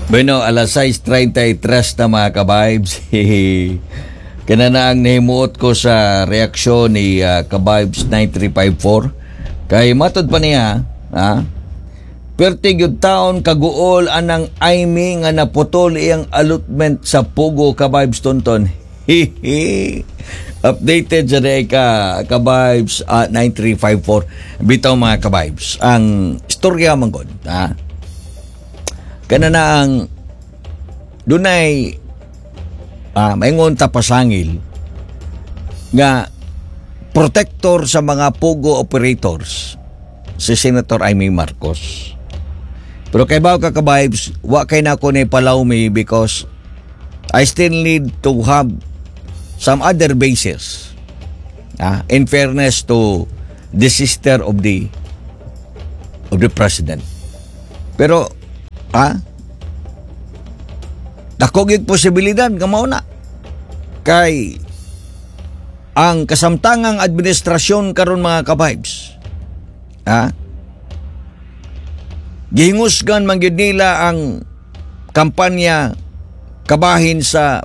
Bueno, alas 6:33 na, mga ka-vibes. Kana na ang nahimuot ko sa reaksyon ni Ka-vibes 9354. Kay matod pa niya, ha? Perti gyud taon kaguol anang Imee nga naputol iyang allotment sa POGO, Ka-vibes Tonton. Hihi. Updated sa day ka Ka-vibes 9354. Bitaw, mga ka-vibes, ang istorya man gud, ha? Kana na ang dunay maingon ta pasangil nga protector sa mga POGO operators si Senator Imee Marcos. Pero kay bawo ka, ka-vibes, wa kay na ko ni palawmi because I still need to have some other basis. In fairness to the sister of the president. Pero dako gyud posibilidad nga mao na. Kay ang kasamtangang administrasyon karon, mga ka-vibes, gihingusgan man gyud nila ang kampanya kabahin sa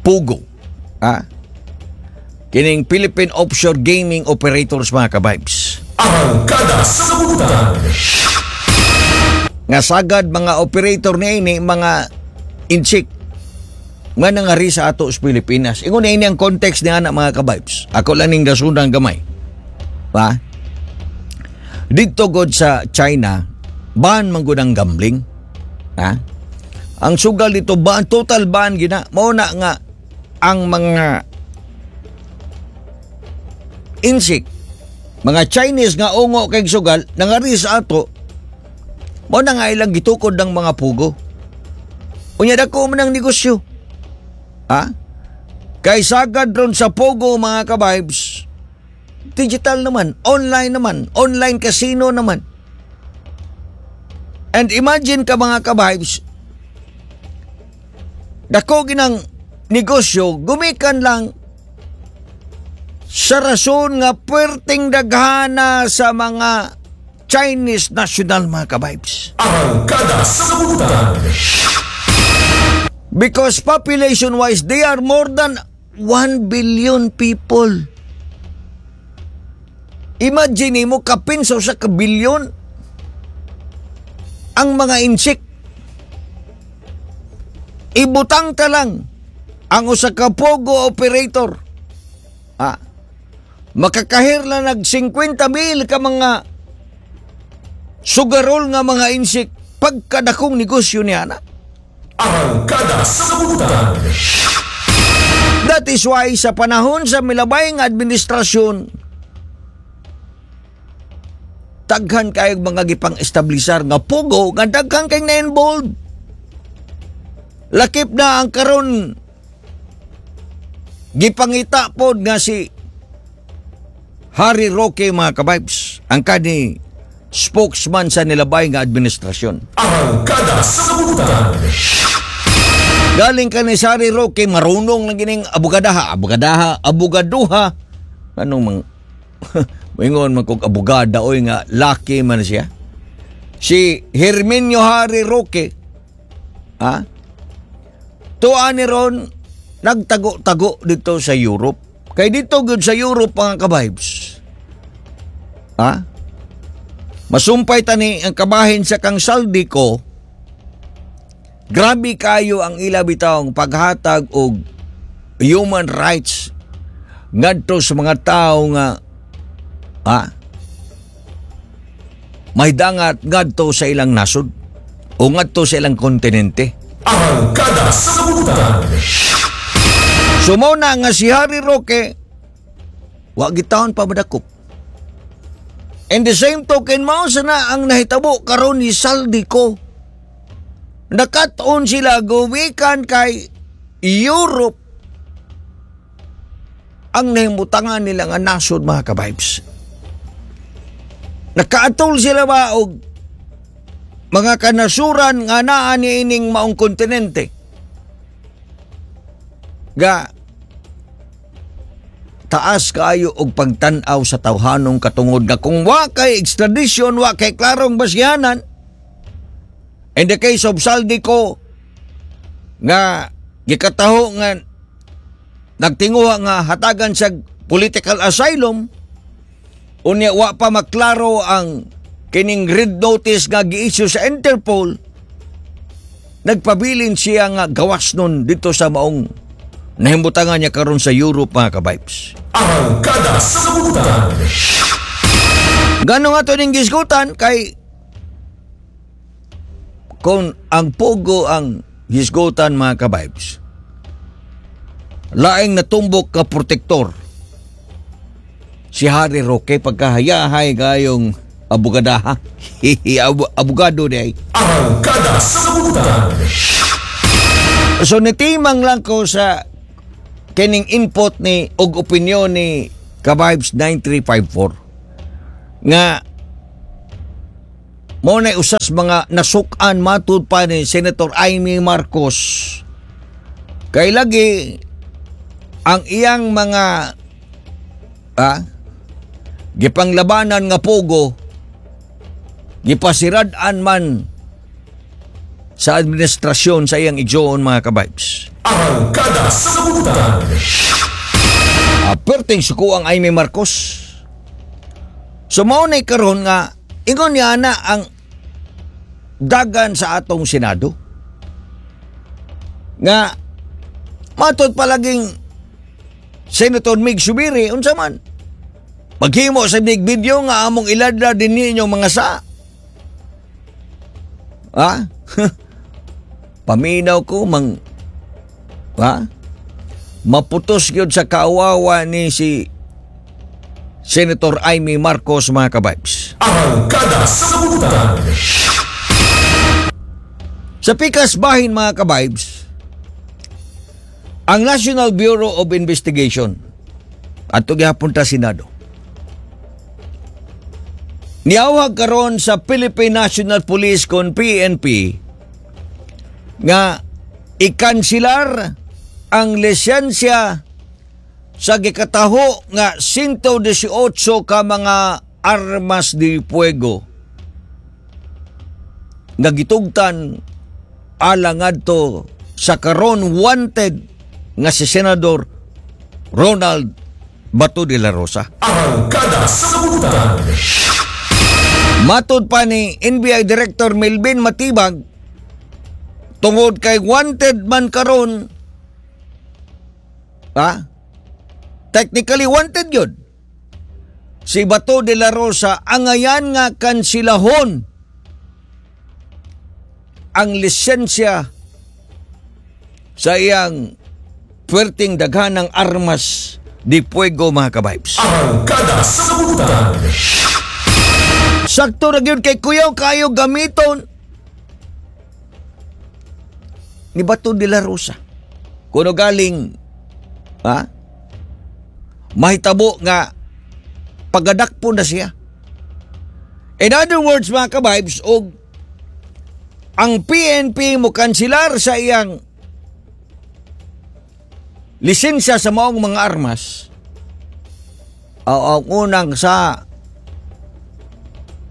POGO. Kining Philippine Offshore Gaming Operators, mga ka-vibes. Arangkada sa Butan. Nga sagad mga operator niini mga Intsik nga nangari sa ato sa Pilipinas. Ingon na ini ang context ni ana, mga ka-vibes. Ako lang ning gasunang gamay. Pa? Dito god sa China, ban man gud ang gambling. Ha? Ang sugal dito ban, total ban gina. Mao na nga ang mga Intsik, mga Chinese nga ungo kay sugal, nangari sa ato, mao na nga ilang gitukod ng mga POGO. Unya dako man ang negosyo. Ha? Kay sagad ron sa POGO, mga ka-vibes, digital naman, online naman, online casino naman. And imagine ka, mga ka-vibes, dako ginang negosyo, gumikan lang sa rason nga puwerteng daghana sa mga Chinese national, mga ka-vibes. Arangkada sa Butan. Because population-wise, they are more than 1 billion people. Imagine mo, kapin sa 1 ka bilyon ang mga Intsik. Ibutang ta lang ang usa ka POGO operator. Makakahir lang nag 50 mil ka mga sugarol nga mga Intsik, pagkadakong negosyo niya na. Arangkada sa Butan. That is why sa panahon sa milabay nga administrasyon, daghan kayong mga gipang establisar nga POGO nga daghan kayong na-involved. Lakip na ang karon gipangita pod nga si Harry Roque, mga ka-vibes, ang kani spokesman sa nilabay nga administrasyon. Arangkada sa Butan. Galing ka ni Harry Roque, marunong lang gining abogadaha, abogadaha, abogaduha. Anong mang moingon man kog abogada oy nga laki man siya. Si Herminio Harry Roque, ha? Tuwa ni ron nagtago-tago dito sa Europe. Kay dito gud sa Europe, mga ka-vibes. Ha? Masumpay tani ang kabahin sa kang Zaldy Co. Grabe kayo ang ila bitawng paghatag og human rights ngadto sa mga tao nga may dangat ngadto sa ilang nasod o ngadto sa ilang kontinente. Arangkada sa Butan. So mao na nga si Harry Roque wa gitawon pa madakop. And the same token, mao sa na ang nahitabo karon ni Zaldy Co. Nakat-on sila gumikan kay Europe ang nahimutangan nila nga nasod, mga ka-vibes. Nakaatol sila ba og mga kanasuran nga naa ni ining maong kontinente. Ga taas kaayo og pagtan-aw sa tawhanong katungod nga kung wa kay extradition, wa kay klarong basyanan, In the case of Zaldy Co, nga gikataho nga nagtinguha nga hatagan sa political asylum, unya wa pa maklaro ang kining red notice nga gi-issue sa Interpol, nagpabilin siya nga gawas nun dito sa maong nahimutangan niya karon sa Europe, mga ka-vibes. Arangkada sa Kalibutan. Gano nga to ning gisgutan kay kung ang POGO ang gisgutan, mga ka-vibes, laing natumbok ka protektor si Harry Roque pagkahayahay gayong abogadaha. Abogado di ay. Arangkada sa Kalibutan. So nitimang lang ko sa kining input ni og opinyon ni Kabibes 9354 nga mo na usas mga nasukan matud pa ni Senator Imee Marcos kay lagi ang iyang mga gipanglabanan nga POGO gipasirad-an man sa administrasyon sa iyang igsoon, mga kabibes. Arangkada sa Kalibutan. Perting suko ang Imee Marcos. So mao na karon nga ingon niya na ang dagan sa atong Senado. Nga matod palaging Senator Migz Zubiri, unsa man? Maghimo sa big video nga among iladla din ninyo mga sa. Ha? Paminaw ko mang, ha? Maputos gyud sa kaawawa ni si Senator Imee Marcos, mga kabibes. Arangkada sa Kalibutan. Sa pikas bahin, mga kabibes, ang National Bureau of Investigation ato gihapon ta Senado. Niawag karon sa Philippine National Police kon PNP nga ikansilar ang lisensya sa gikataho nga 118 ka mga armas de fuego nga gitugtan alang ngadto sa karon wanted nga si Senador Ronald Bato de la Rosa. Arangkada sa Kalibutan. Matod pa ni NBI Director Melvin Matibag, tungod kay wanted man karon, ha? Technically wanted yun si Bato de la Rosa, angayan nga kansilahon ang lisensya sa iyang puwerteng daghanang armas de fuego, mga kabibes. Arangkada sa Kalibutan. Sakto ra gyud kay kuyaw kayo gamiton ni Bato de la Rosa. Kuno galing, ha, mahitabo nga pagadakpo na siya. In other words, mga kabibes, og ang PNP mo kansilar sa iyang lisensya sa maong mga armas, o ang unang sa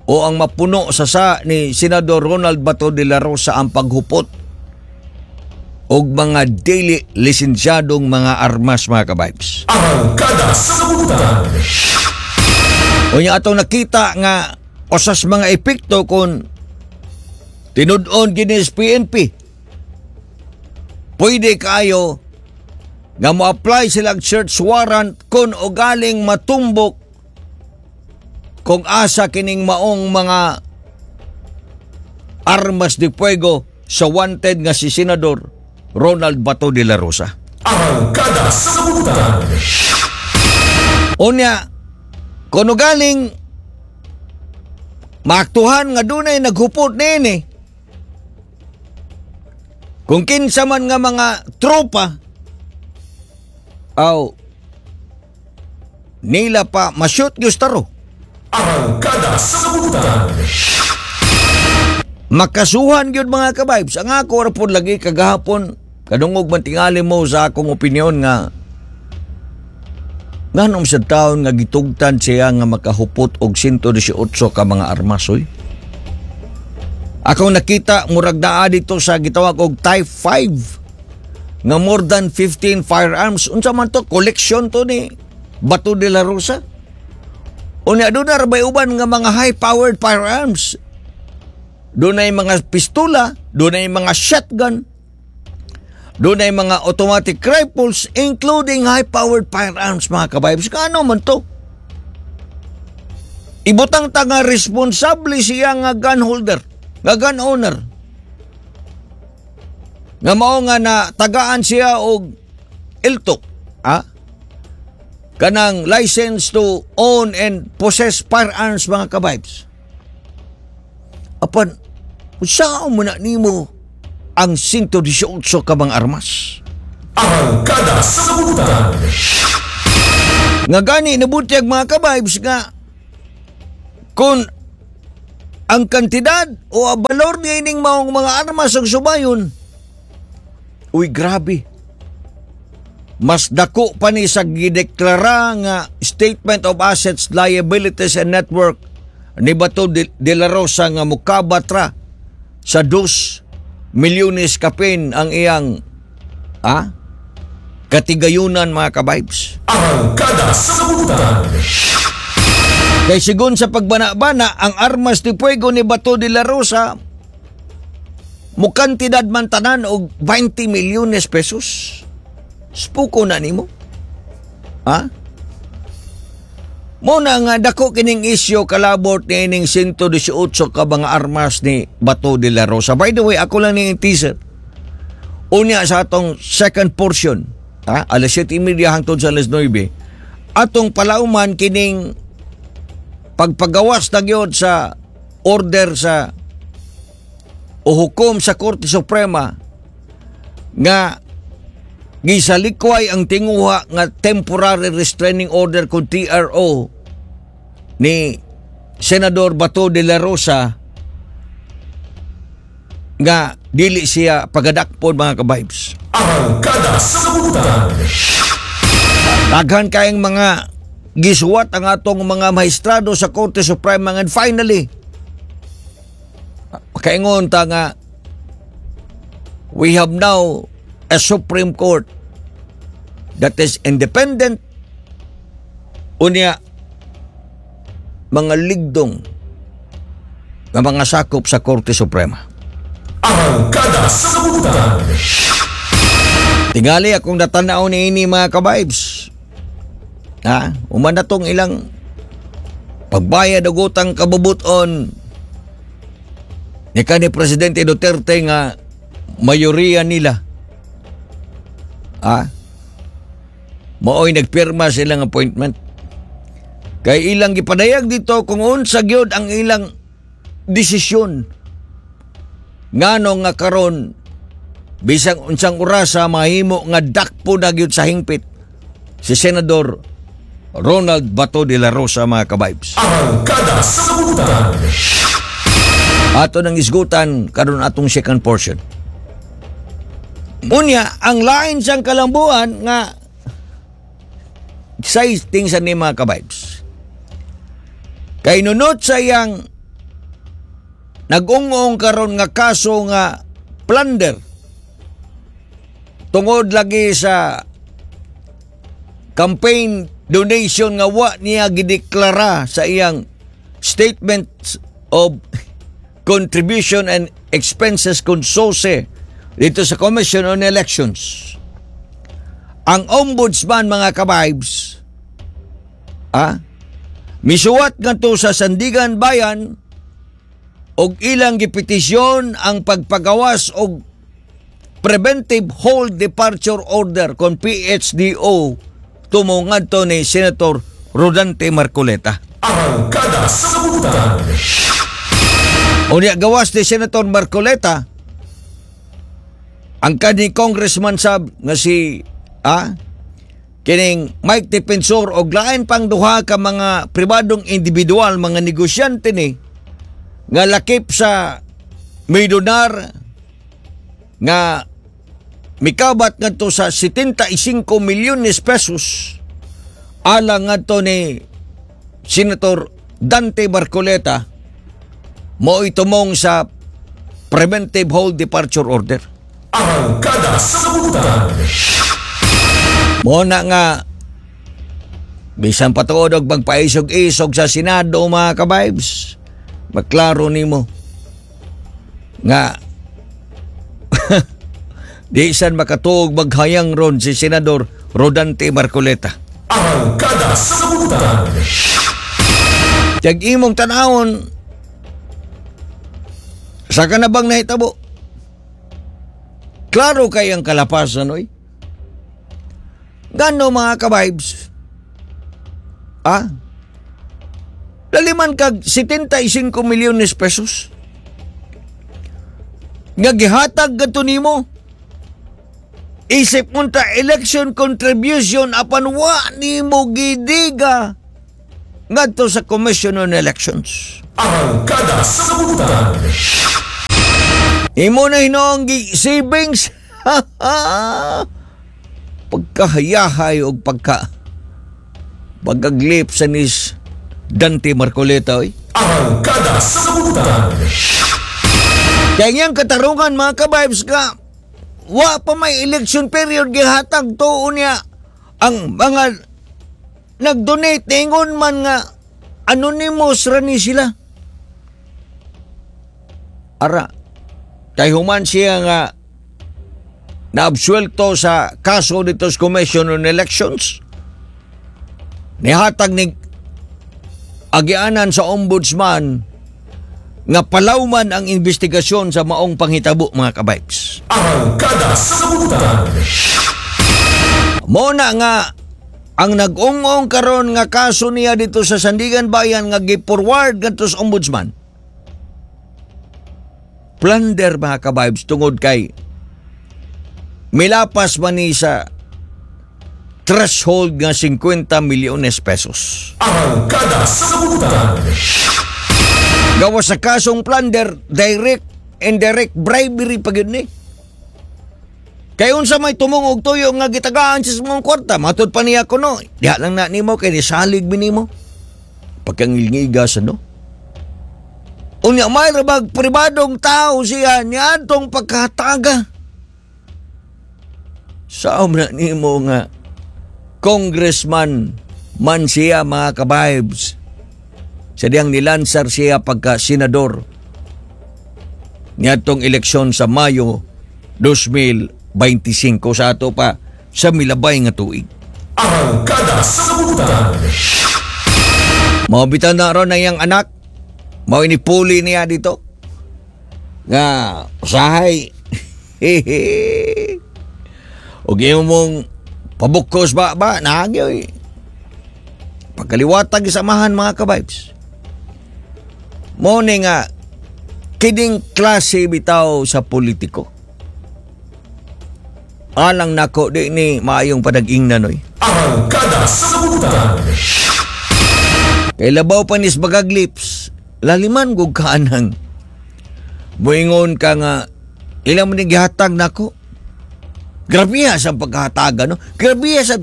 o ang mapuno sa ni Senador Ronald Bato de la Rosa ang paghupot og mga dili lisensyadong mga armas, mga kabibes. Arangkada sa Kalibutan. Unya atong nakita nga usas mga epekto kung tinud-on gini sa PNP. Pwede kayo nga mo-apply silang search warrant kung ugaling matumbok kung asa kining maong mga armas de fuego sa wanted nga si Senador Ronald Bato de la Rosa. Arangkada sa Kalibutan. Unya, kung galing maaktuhan nga dunay naghupot nini, kung kinsa man nga mga tropa, aw nila pa ma-shoot gustaro. Arangkada sa Kalibutan. Makasuhan gyud, mga kabibes. Ang ako ra pod lagi kagahapon kadungog man tingali mo sa akong opinyon nga nganong sa taon nga gitugtan siya nga makahupot og 118 ka mga armas oy. Akong nakita, murag naa dito sa gitawag og Type 5 nga more than 15 firearms. Unsa man to? Collection to ni Bato de la Rosa? Unya doon na rabay uban nga mga high-powered firearms. Doon ay mga pistola, doon ay mga shotgun, doon ay mga automatic rifles, including high-powered firearms, mga ka-vibes. Kaano man to? Ibutang ta nga responsable siya nga gun holder, nga gun owner. Nga mao nga na tagaan siya og LTOPF, ha? Kanang license to own and possess firearms, mga ka-vibes. Apan, unsaon mo na nimo ang 118 ka mga armas? Arangkada sa Butan. Nga gani nabutyag, mga ka-vibes, nga kung ang kantidad o ang balor niya ining maong mga armas ang subayon, uy, grabe. Mas dako pa ni sa gideklara nga Statement of Assets, Liabilities and Net Worth ni Bato de la Rosa nga mukabat ra sa 2 milyones kapin ang iyang katigayunan, mga ka-vibes. Arangkada sa Butan. Kay sigon sa pagbana-bana, ang armas de fuego ni Bato de la Rosa mukantidad man tanan og 20 milyones pesos. Spuko na nimo. Ha? Mo na nga dako kining isyu kalabot ni ining 118 ka mga armas ni Bato de la Rosa. By the way, ako lang ning teaser. Unya sa atong second portion, ha, alas 7:30 hangtod sa alas 9, atong palauman kining pagpagawas na gyud sa order sa o hukom sa Korte Suprema nga gisalikway ang tinguha nga temporary restraining order kon TRO ni Senador Bato de la Rosa nga dili siya pagadakpon, mga ka-vibes. Arangkada sa Butan. Daghan kayong mga gisuwat ang atong mga mahistrado sa Korte Suprema and finally makaingon ta nga we have now a Supreme Court that is independent, unya mga ligdong nga mga sakop sa Korte Suprema. Arangkada sa Butan. Tingali akong natanaw ni ini, mga ka-vibes. Ha? Human na tong ilang pagbayad og utang kabubuton ni kanhi Presidente Duterte nga mayoriya nila. Ha? Maoy nagpirma silang appointment. Kay ilang gipadayag dito kung unsa gyud ang ilang desisyon. Ngano nga karon bisang unsang orasa mahimo nga dakpo na gyud sa hingpit si Senador Ronald Bato de la Rosa, mga ka-vibes. Arangkada sa Butan. Ato nang isgutan karon atong second portion. Unya, ang lain siyang kalambuan nga exciting sa ni, mga ka-vibes. Kay nunot sa iyang nag-ungong karon nga kaso nga plunder tungod lagi sa campaign donation nga wa niya gideklara sa iyang Statement of Contribution and Expenses kon SOCE dito sa Commission on Elections. Ang ombudsman, mga ka-vibes, misuwat ngadto sa Sandiganbayan og ilang gipetisyon ang pagpagawas og Preventive Hold Departure Order kon PHDO tumo ngadto ni Senator Rodante Marcoleta. Arangkada sa Butan. Unya gawas ni Senator Marcoleta, ang kanhi congressman sab nga si kining Mike Defensor og lain pang duha ka mga pribadong individual, mga negosyante ni nga lakip sa midonar nga mikabat ngadto sa 75 milyones pesos alang ngadto ni Senator Dante Marcoleta, mo'y tumong sa preventive hold departure order. Arangkada sa Kalibutan. Mo na nga bisan patuod og magpaisog-isog sa Senado, mga ka-vibes, maklaro nimo nga di san makatuog maghayang ron si Senador Rodante Marcoleta. Arangkada sa Kalibutan. Kag imong tanawon sa kanabang nahitabo, klaro kay ang kalapasan, oy. Gano, mga ka-vibes? Ah? Laliman kag 75 milyones pesos nga gihatag gadto nimo. Isip unta election contribution apan wa nimo gidiga ngadto sa Commission on Elections. Arangkada sa Kalibutan. Imo na hinoong savings. Pagkahayahay o pagkaglip sa nis Dante Marcoleta, oy. Arangkada sa Kalibutan. Kaya ngayang katarungan, mga ka-vibes, ka wa pa may election period gihatag tuon niya ang mga nag-donate, ingon man nga anonymous ra ni sila. Ara kay human siya nga naabsuelto sa kaso dito sa Commission on Elections, nihatag ni agianan sa ombudsman nga palawman ang investigasyon sa maong panghitabo, mga ka-vibes. Arangkada sa Kalibutan. Mo na nga ang nag-ungong karon nga kaso niya dito sa Sandiganbayan nga gi-forward ngadto sa ombudsman. Plunder, mga ka-vibes, tungod kay milapas man ni sa threshold nga 50 milyones pesos. Arangkada sa Kalibutan. Gawas sa kasong plunder, direct, indirect bribery pa gyud ni. Kay unsa may tumong og tuyo nga gitagaan sa mong kwarta, matud pa niya kuno. Diha lang na nimo kay nisalig mi nimo. Pagkangilngiga sa no. Unya may rabag pribadong tao siya niadtong pagkataga. Saom na nimo nga congressman man siya, mga ka-vibes. Sa diyang nilansar siya pagka senador niadtong eleksyon sa Mayo 2025 sa ato pa sa milabay nga tuig. Arangkada sa Kalibutan. Mao bitaw na ron ang iyang anak. Mao inipuli niya dito. Nga usahay. Og imo mong pabukos ba ba naagi oy. Pagkaliwatag isamahan, mga ka-vibes. Mo ni nga kining klase bitaw sa politiko. Alang nako, di ni maayong panag-ingnan, oy. Arangkada sa Kalibutan. Kay labaw pa nis bagaglips, laliman gug kaanang. Muingon ka nga, ilang mo ni gihatag nako. Grabe sa pagkahatagan, no? Grabe sa,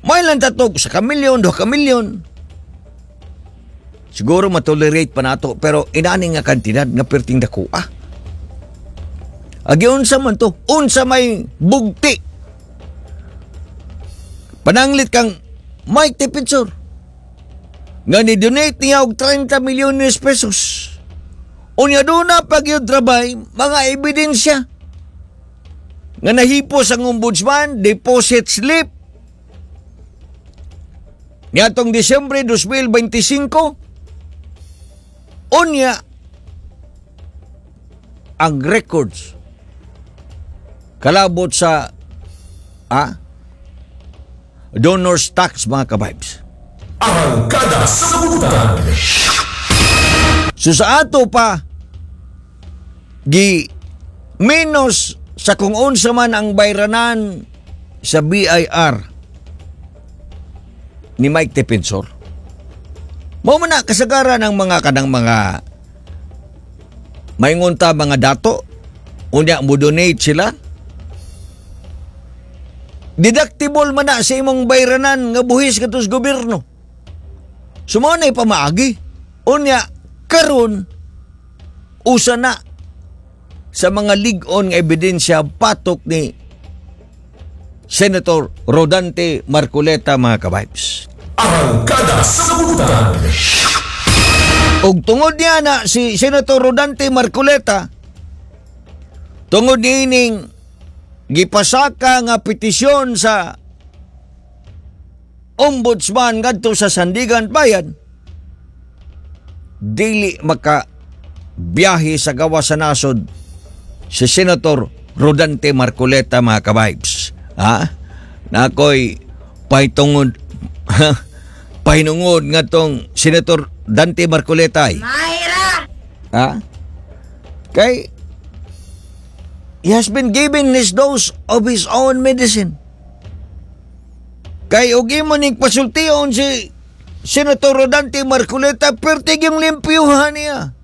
may lang tatog, sa kamilyon, 2 ka milyon. Siguro matolerate pa nato, pero inani nga kantidad nga perting dako ah. Agi unsa man to? Unsa may bugti? Pananglit kang Mike Defensor nga ni-donate niya og 30 milyones pesos. Unya doon na pag trabay mga ebidensya nga nahipos ang ombudsman, deposit slip niadtong Disyembre 2025. Unya ang records kalabot sa donors tax, mga ka-vibes. Arangkada sa Kalibutan. So sa ato pa gi menos sa kung unsa man ang bayranan sa BIR ni Mike Defensor. Mao man na kasagaran ng mga kanang mga maingon ta mga dato, unya mo donate sila, deductible man na sa imong bayranan nga buhis kadto sa gobyerno. So mao na pamaagi. Unya karon usa na sa mga lig-on nga ebidensya patok ni Senator Rodante Marcoleta, mga ka-vibes. Arangkada sa Butang. Og tungod niya na si Senator Rodante Marcoleta, tungod niining gipasaka nga petisyon sa Ombudsman ngadto sa Sandiganbayan, dili maka biyahe sa gawas sa nasod si Senator Rodante Marcoleta, mga ka-vibes. Ha? Nakoy pahitungod pahinungod ngadtong Senator Dante Marcoleta ay. Mayra! Ha? Kay he has been given his dose of his own medicine. Kay og imo ning pasultion si Senator Rodante Marcoleta, pertig yung limpyuhan niya.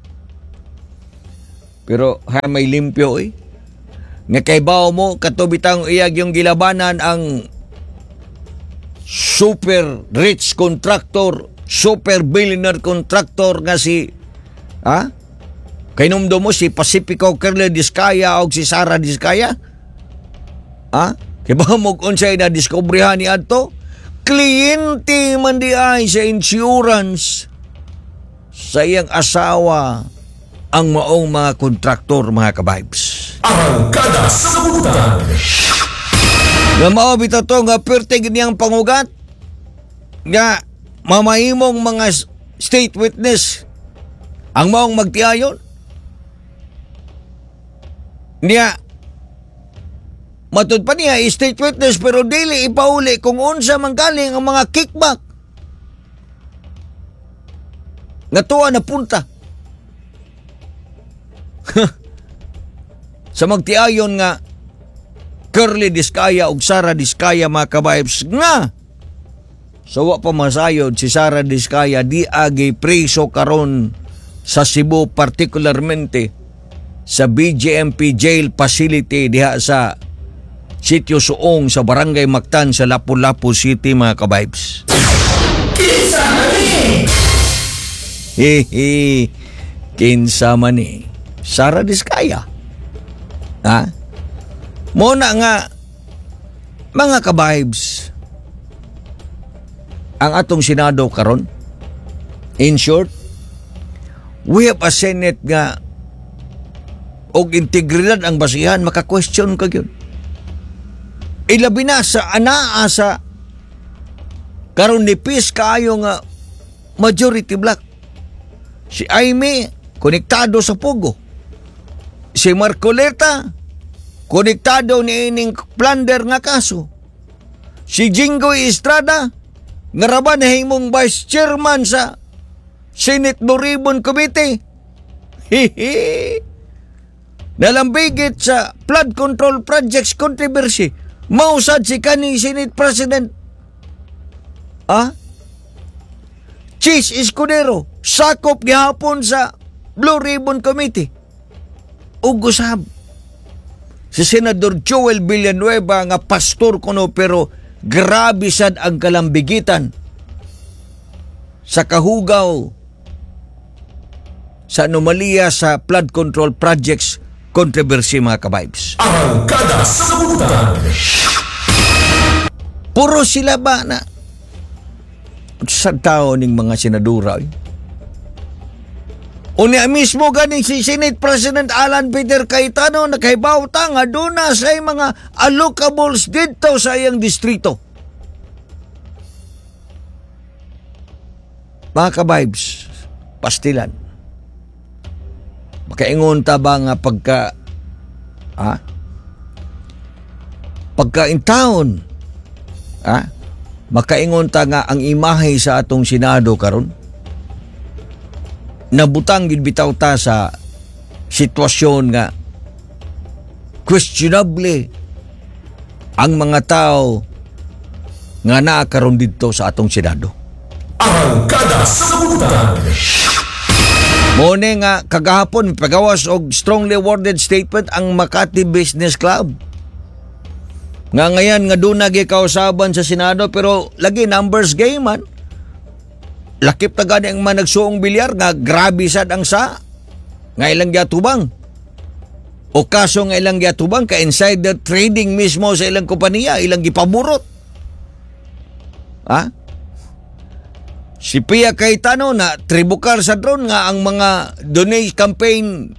Pero ha, may limpyo eh. Nga kay bao mo katubitang iyag yung gilabanan ang super rich contractor, super billionaire contractor nga si, ha? Kahinumdom mo si Pacifico Curly Discaya o si Sara Discaya? Ha? Kay ba mo unsay na diskubrihan ni adto? Kliyente man di ay sa insurance sa iyang asawa ang maong mga kontraktor, mga ka-vibes. Arangkada sa Butang. Nga mao bitaw to nga pertig niyang pangugat nga mamahimong mga state witness ang maong magtiayon niya. Matud pa niya state witness, pero dili ipauli kung unsa man galing ang mga kickback nga tuwa na punta sa magtiayon nga Curly Discaya ug Sara Discaya, mga ka-vibes, nga so wa pa masayod si Sara Discaya di agi preso karon sa Cebu, particularmente sa BJMP jail facility diha sa Sitio Suong sa Barangay Mactan sa Lapu-Lapu City, mga ka-vibes. Kinsa man ni? Hihi. Kinsa man ni Sara Discaya. Ha? Muna nga, mga ka-vibes, ang atong Senado karon, in short, we have a Senate nga og integridad ang basihan, maka-question ka gyud. Ilabi na sa anaa sa karon nipis kaayo nga majority block. Si Imee, konektado sa POGO. Si Marcoleta, konektado ni ining plunder nga kaso. Si Jinggoy Estrada, nga ra ba nahimong vice chairman sa Senate Blue Ribbon Committee. Hihi. Nalambigit sa flood control projects controversy. Mausad si kaning Senate President. Ah? Chiz Escudero, sakop gihapon sa Blue Ribbon Committee. Ug usab si Senador Joel Villanueva nga pastor kuno, pero grabe sad ang kalambigitan sa kahugaw sa anomalya sa flood control projects controversy, mga ka-vibes. Arangkada sa Butang. Puro sila ba na sa tao ning mga senadora eh? Unya mismo ganing si Senate President Alan Peter Cayetano, nakahibaw ta nga duna sa mga allocables didto sa iyang distrito. Mga ka-vibes, pastilan. Makaingon ta ba nga pagka, ha? Pagka in town, ha? Makaingon ta nga ang imahe sa atong Senado karon nabutang gid bitaw ta sa sitwasyon nga questionable ang mga tao nga naa karon didto sa atong Senado. Arangkada sa Butang. Mone nga kagahapon pagawas og strongly worded statement ang Makati Business Club. Nga ngayan nga doon nagikausaban sa Senado, pero lagi numbers game man. Lakip ta gani ang mga nagsuong bilyar nga grabe sad ang sa nga ilang giatubang. O kaso nga ilang giatubang ka insider trading mismo sa ilang kompanya, ilang gipaburot. Ha? Si Pia Cayetano na tribukar sa drone nga ang mga donate campaign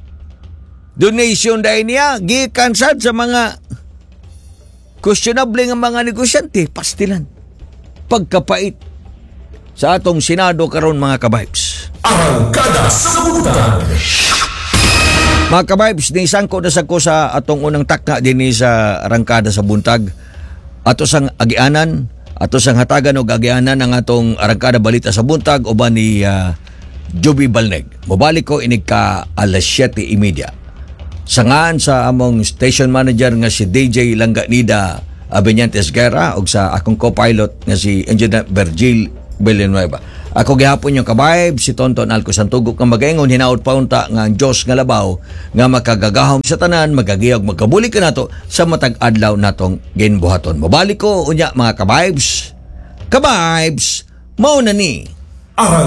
donation dahil niya gikan sad sa mga questionable nga mga negosyante, pastilan. Pagkapait sa atong Senado karon, mga kabibes. Arangkada sa Buntag. Mga kabibes, nisangko na sa ko sa atong unang takna dinhi sa Arangkada sa Buntag. Ato sang agianan, ato sang hatagan og agianan ang atong Arangkada Balita sa Buntag uban ni Joby Balneg. Mobalik ko inig ka alas 7:30. Sangan sa among station manager nga si DJ Langganida Abenyantes Guerra ug sa akong co-pilot nga si Engineer Virgil Villanueva. Ako gihapon yung kabayb, si Tonton Alco Santugok nga magaingon, hinaot pa unta nga ang Diyos nga labaw nga makagagahom sa tanan magagiyog magkabulig kanato sa matag adlaw natong ginbuhaton. Mobalik ko unya, mga kabibes. Kabibes, mao na ni. Arang